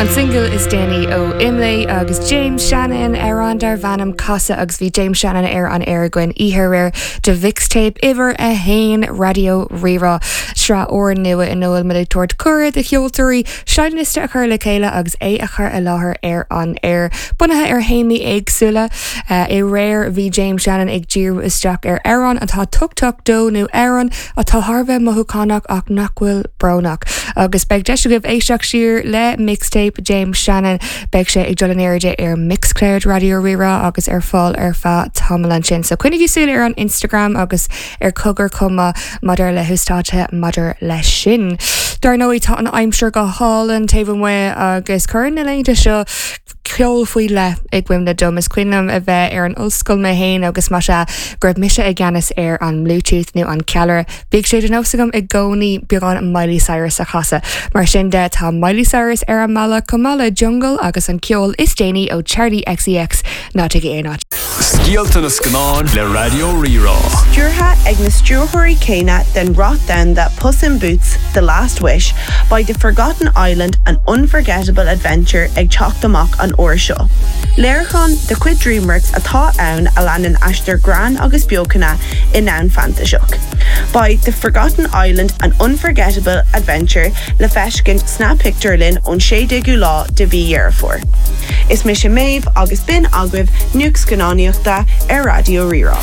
An singil is déanaí ó Imlé agus James Shannon, amhrán darb ainm Casadh agus bhí James Shannon ar an aer againn oíche aréir do Mhixtape uimhir 1 Raidió Rí-Rá, sraith úrnua ina bhfuil muid ag tabhairt cuireadh do cheoltóirí seinnliosta a chur le chéile agus é a chur i láthair ar an aer. Bunaithe ar théamaí éagsúla, aréir bhí James Shannon ag díriú isteach ar amhráin atá tábhachtach dó nó amhráin atá thar a bheith mothúchánach ach nach bhfuil brónach. Agus beidh deis agaibh éisteacht siar le Mixtape James Shannon. Beidh sé ag dul in airde ar Mixcloud Raidió Rí-Rá agus ar fáil ar feadh tamaill ansin. So coinnigí súil ar an Instagram agus ar Cogar chomh maith maidir le huasdátuithe maidir leis sin. Dar ndóigh tá an aimsir go hálainn taobh amuigh agus cuireann na laethanta seo ceol faoi leith i gcuimhne dom. Is cuimhin liom a bheith ar an ollscoil mé féin agus más ea go raibh mise i gceannas ar an mBluetooth nó an ceallra, bhíodh sé de nós agam i gcónaí beagán Miley Cyrus a chasadh. Mar sin de, tá Miley Cyrus ar an mbealach chomh maith le Jungle agus an ceol is déanaí ó Charli XCX. Ná téigí aon áit. Scéalta na Scannán le Raidió Rí-Rá. Stiúrtha ag na stiúrthóirí céanna den rath domhanda Puss in Boots, The Last Wish, beidh The Forgotten Island, An Unforgettable Adventure ag teacht amach an uair seo. Léiriúchán de chuid DreamWorks atá ann a leanann aistear greann agus beochana i ndomhan fantaiseach. Beidh The Forgotten Island, An Unforgettable Adventure le feiscint sna pictiúrlanna ón 16ú lá de mhí Dheireadh Fómhair. Is mise Méabh agus b'in agaibh nuacht scannánaíochta ar Raidió Rí-Rá.